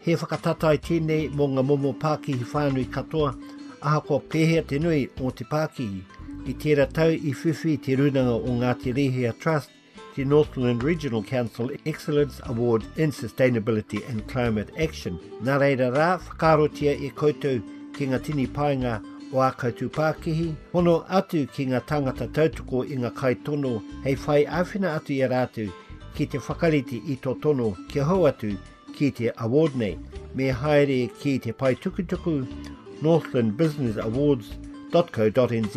He whakatatae tēnei mō ngā momo pākihi whānui katoa, ahakoa pēhea te nui o te pākihi. I tērā tau i whiwhi Te Rūnanga o Ngāti Rēhia Trust te Northland Regional Council Excellence Award in Sustainability and Climate Action. Nā reira rā, whakaarotia e koutou ki ngā tini painga o ā koutou pākihi, hono atu ki ngā tāngata tautoko i ngā kaitono hei whai āwhina atu i a rātou ki te whakarite i tō tono kia hou atu ki te award nei, me haere ki te pae tukutuku northlandbusinessawards.co.nz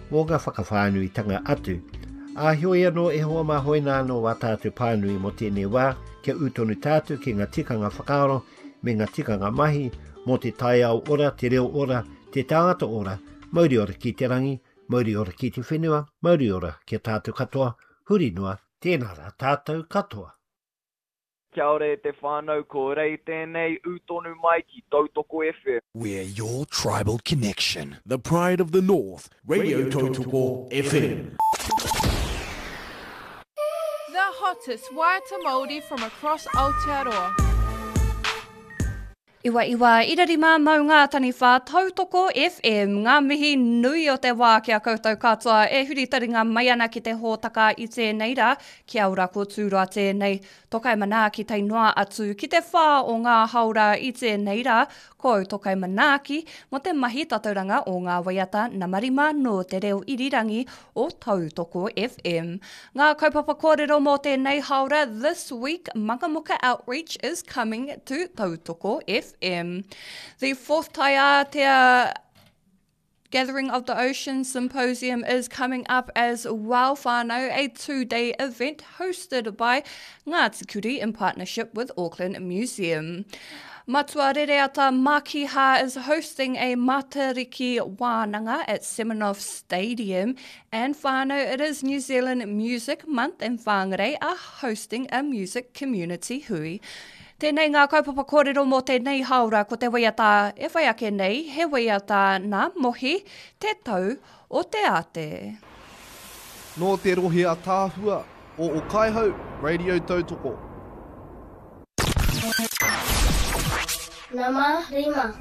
mō ngā whakawhānuitanga atu. Ā, heoi anō e hoa mā hoina anō wā tātou pānui mō tēnei wā, kia ū tonu tātou ki ngā tikanga whakaaro me ngā tikanga mahi mō te taiao ora, te reo ora, te tāngata ora, mauri ora ki te rangi, mauri ora ki te whenua, mauri ora ki a tātou katoa, huri noa, tēnā rā tātou katoa. Kia ora e te whānau, ko Rei tēnei, ū tonu mai ki Tautoko FM. We're your tribal connection. The pride of the north, Radio Tautoko FM. The hottest waiata Māori from across Aotearoa. Iwa iwa ira rima maunga taniwha tautoko FM Ngā mihi nui o te wā ki a koutou katoa e huri taringa mai ana ki te hōtaka i tēnei rā. Kia ora ko Tūroa tēnei. Tokai manaaki tae noa atu ki te whā o ngā haora i tēnei rā. Ko au Tokai manaaki mō te mahi tatauranga o ngā waiata nama rima nō te reo irirangi o Tautoko FM. Ngā kaupapa kōrero mō tēnei haora This week Mangamuka Outreach is coming to Tautoko FM. The fourth Taiātea Gathering of the Ocean Symposium is coming up as well, whānau, a two-day event hosted by Ngāti Kuri in partnership with Auckland Museum. Matua Rereata Makiha is hosting a Matariki Wānanga at Semenoff Stadium and whānau, it is New Zealand Music Month and Whangarei are hosting a music community hui. Tēnei ngā kaupapa kōrero mō tēnei haora ko te waiata e whai ake nei, he waiata nā Mohi, Te Tau o te Ate. Nō te rohe ataahua o Okaihau Radio Tautoko. Nama rima.